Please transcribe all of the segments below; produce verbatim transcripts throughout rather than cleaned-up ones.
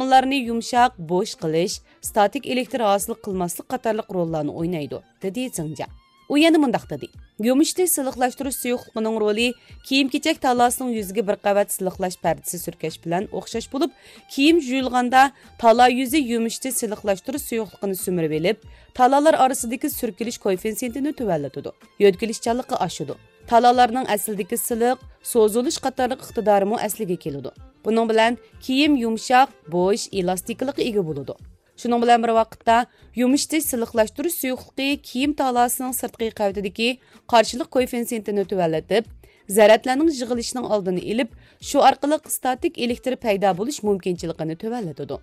ئۇلارنى يۇمشاق، بوش قىلىش، ستاتىك ئېلېكتر ھاسىل قىلماسلىق قاتارلىق روللارنى ئوينايدۇ، دېدى زېڭجيا. ئۇ يەنە مۇنداق دېدى، يۇمشىتىش سىلىقلاشتۇرۇش سۇيۇقلۇقىنىڭ رولى كىيىم-كېچەك تالاسىنىڭ يۈزىگە بىر قەۋەت سىلىقلاش پەردىسى سۈركەش بىلەن ئوخشاش بولۇپ، كىيىم يۇيۇلغاندا تالا يۈزى يۇمشىتىش سىلىقلاشتۇرۇش سۇيۇقلۇقىنى سۈمۈرۈۋېلىپ، تالالار ئارىسىدىكى سۈركىلىش كوئېففىتسېنتىنى تۆۋەنلىتىدۇ، يۆتكىلىشچانلىقى ئاشىدۇ. تالالارنىڭ ئەسلىدىكى سىلىق، سوزۇلۇش قاتارلىق ئىقتىدارىمۇ ئەسلىگە كېلىدۇ. بۇنىڭ بىلەن كىيىم يۇمشاق، بوش، ئېلاستىكىلىققا ئىگە بولىدۇ. شۇنىڭ بىلەن بىر ۋاقىتتا، يۇمشىتىش سىلىقلاشتۇرۇش سۇيۇقلۇقى كىيىم تالاسىنىڭ سىرتقى قەۋىتىدىكى قارشىلىق كوئېففىتسېنتىنى تۆۋەنلىتىپ، زەرەتلەرنىڭ يىغىلىشىنىڭ ئالدىنى ئېلىپ، شۇ ئارقىلىق ستاتىك ئېلېكتر پەيدا بولۇش مۇمكىنچىلىكىنى تۆۋەنلىتىدۇ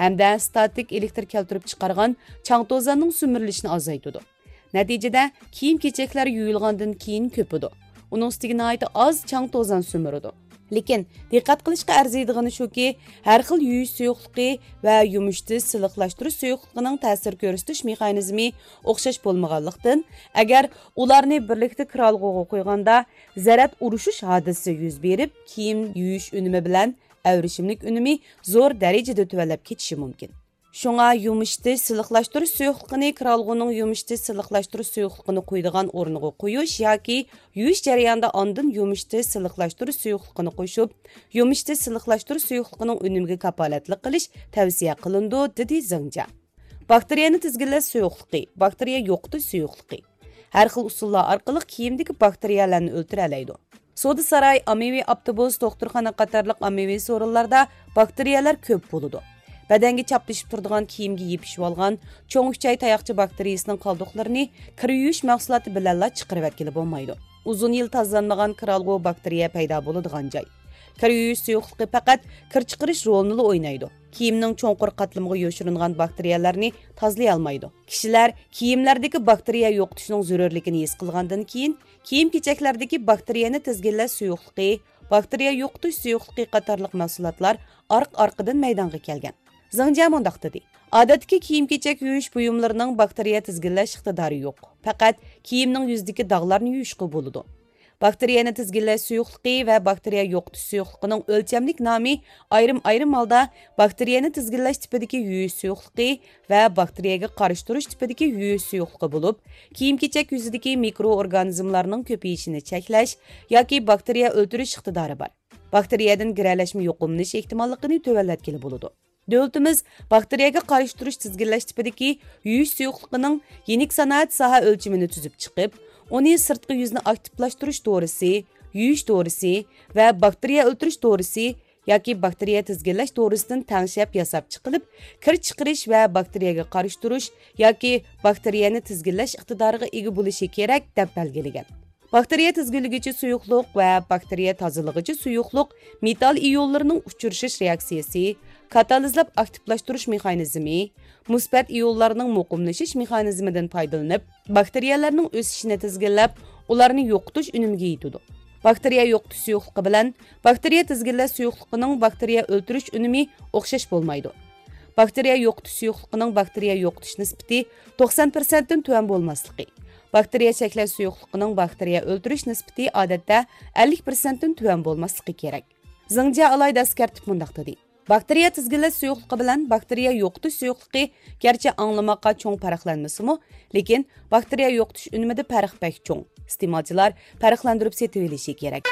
ھەمدە ستاتىك ئېلېكتر كەلتۈرۈپ چىقارغان چاڭ توزاننىڭ سۈمۈرۈلۈشىنى ئازايتىدۇ. نەتىجىدە، كىيىم-كېچەكلەر يۇيۇلغاندىن كېيىن كۆپىدۇ. ئۇنىڭ ئۈستىگە ناھايىتى ئاز چاڭ توزان سۈمۈرىدۇ. لېكىن، دىققەت قىلىشقا ئەرزىيدىغىنى شۇكى، ھەر خىل يۇيۇش سۇيۇقلۇقى ۋە يۇمشىتىش، سىلىقلاشتۇرۇش سۇيۇقلۇقىنىڭ تەسىر كۆرسىتىش مېخانىزمى ئوخشاش بولمىغانلىقتىن، ئەگەر ئۇلارنى بىرلىكتە كىرئالغۇغا قۇيغاندا، زەرەت ئۇرۇشۇش ھادىسىسى يۈز بېرىپ، كىيىم يۇيۇش ئۈنۈمى بىلەن ئەۋرىشىملىك ئۈنۈمى زور دەرىجىدە تۆۋەنلەپ كېتىشى مۇمكىن. شۇڭا يۇمشىتىش، سىلىقلاشتۇرۇش سۇيۇقلۇقىنى كىرئالغۇنىڭ يۇمشىتىش، سىلىقلاشتۇرۇش سۇيۇقلۇقىنى قۇيىدىغان ئورنىغا قويۇش ياكى يۇيۇش جەريانىدا ئاندىن يۇمشىتىش، سىلىقلاشتۇرۇش سۇيۇقلۇقىنى قوشۇپ، يۇمشىتىش، سىلىقلاشتۇرۇش سۇيۇقلۇقىنىڭ ئۈنۈمىگە كاپالەتلىك قىلىش تەۋسىيە قىلىنىدۇ، دېدى زېڭجيا. باكتېرىيەنى تىزگىنلەش سۇيۇقلۇقى، باكتېرىيە يوقىتىش سۇيۇقلۇقى. ھەر خىل ئۇسۇللار ئارقىلىق كىيىمدىكى باكتېرىيەلەرنى ئۆلتۈرەلەيدۇ. سودا ساراي، ئاممىۋى ئاپتوبۇس، دوختۇرخانا قاتارلىق ئاممىۋى سورۇنلاردا باكتېرىيەلەر كۆپ بولىدۇ. بەدەنگە چاپلىشىپ تۇرىدىغان كىيىمگە يېپىشىۋالغان چوڭ ئۈچەي تاياقچە باكتېرىيىسىنىڭ قالدۇقلىرىنى كىر يۇيۇش مەھسۇلاتى بىلەنلا چىقىرىۋەتكىلى بولمايدۇ. ئۇزۇن يىل تازىلانمىغان كىرئالغۇ باكتېرىيە پەيدا بولىدىغان جاي. كىر يۇيۇش سۇيۇقلۇقى پەقەت كىر چىقىرىش رولىنىلا ئوينايدۇ. كىيىمنىڭ چوڭقۇر قاتلىمىغا يوشۇرۇنغان باكتېرىيەلەرنى تازىلىيالمايدۇ. كىشىلەر كىيىملەردىكى باكتېرىيە يوقىتىشنىڭ زۆرۈرلۈكىنى ھېس قىلغاندىن كېيىن، كىيىم-كېچەكلەردىكى باكتېرىيەنى تىزگىنلەش سۇيۇقلۇقى، باكتېرىيە يوقىتىش سۇيۇقلۇقى قاتارلىق مەھسۇلاتلار ئارقا-ئارقىدىن مەيدانغا كەلگەن. زېڭجيا مۇنداق دېدى، ئادەتتىكى كىيىم-كېچەك يۇيۇش بۇيۇملىرىنىڭ باكتېرىيە تىزگىنلەش ئىقتىدارى يوق. پەقەت كىيىمنىڭ يۈزىدىكى داغلارنى يۇيۇشقا بولىدۇ. باكتېرىيەنى تىزگىنلەش سۇيۇقلۇقى ۋە باكتېرىيە يوقىتىش سۇيۇقلۇقىنىڭ ئۆلچەملىك نامى ئايرىم-ئايرىم ھالدا باكتېرىيەنى تىزگىنلەش تىپىدىكى يۇيۇش سۇيۇقلۇقى ۋە باكتېرىيەگە قارشى تۇرۇش تىپىدىكى يۇيۇش سۇيۇقلۇقى بولۇپ، كىيىم-كېچەك يۈزىدىكى مىكرو ئورگانىزملارنىڭ كۆپىيىشىنى چەكلەش ياكى باكتېرىيە ئۆلتۈرۈش ئىقتىدارى بار. باكتېرىيەدىن گىرەلەشمە يۇقۇملىنىش ئېھتىماللىقىنى تۆۋەنلەتكىلى بولىدۇ. دۆلىتىمىز باكتېرىيەگە قارشى تۇرۇش تىزگىنلەش تىپىدىكى يۇيۇش سۇيۇقلۇقىنىڭ يېنىك سانائەت ساھە ئۆلچىمىنى تۈزۈپ چىقىپ، ئۇنى سىرتقى يۈزنى ئاكتىپلاشتۇرۇش دورىسى، يۇيۇش دورىسى ۋە باكتېرىيە ئۆلتۈرۈش دورىسى ياكى باكتېرىيە تىزگىنلەش دورىسىدىن تەڭشەپ ياساپ چىقىلىپ، كىر چىقىرىش ۋە باكتېرىيەگە قارشى تۇرۇش ياكى باكتېرىيەنى تىزگىنلەش ئىقتىدارىغا ئىگە بولۇشى كېرەك، دەپ بەلگىلىگەن. باكتېرىيە تىزگىنلىگۈچى سۇيۇقلۇق ۋە باكتېرىيە تازىلىغۇچى سۇيۇقلۇق مېتال ئىيونلىرىنىڭ ئۇچرىشىش رېئاكسىيىسى، كاتالىزلاپ ئاكتىپلاشتۇرۇش مېخانىزمى، مۇسبەت ئىيونلارنىڭ مۇقىملىشىش مېخانىزمىدىن پايدىلىنىپ، باكتېرىيەلەرنىڭ ئۆسۈشىنى تىزگىنلەپ، ئۇلارنى يوقىتىش ئۈنۈمىگە يېتىدۇ. باكتېرىيە يوقىتىش سۇيۇقلۇقى بىلەن باكتېرىيە تىزگىنلەش سۇيۇقلۇقىنىڭ باكتېرىيە ئۆلتۈرۈش ئۈنۈمى ئوخشاش بولمايدۇ. باكتېرىيە يوقىتىش سۇيۇقلۇقىنىڭ باكتېرىيە يوقىتىش نىسبىتى توقسان پىرسەنتتىن تۆۋەن بولماسلىقى، باكتېرىيە چەكلەش سۇيۇقلۇقىنىڭ باكتېرىيە ئۆلتۈرۈش نىسبىتى ئادەتتە ئەللىك پىرسەنتتىن تۆۋەن بولماسلىقى كېرەك. زېڭجيا ئالاھىدە ئەسكەرتىپ مۇنداق دېدى، باكتېرىيە تىزگىنلەش سۇيۇقلۇقى بىلەن باكتېرىيە يوقىتىش سۇيۇقلۇقى گەرچە ئاڭلىماققا چوڭ پەرقلەنمىسىمۇ، لېكىن باكتېرىيە يوقىتىش ئۈنۈمىدە پەرق بەك چوڭ. ئىستېمالچىلار پەرقلەندۈرۈپ سېتىۋېلىشى كېرەك.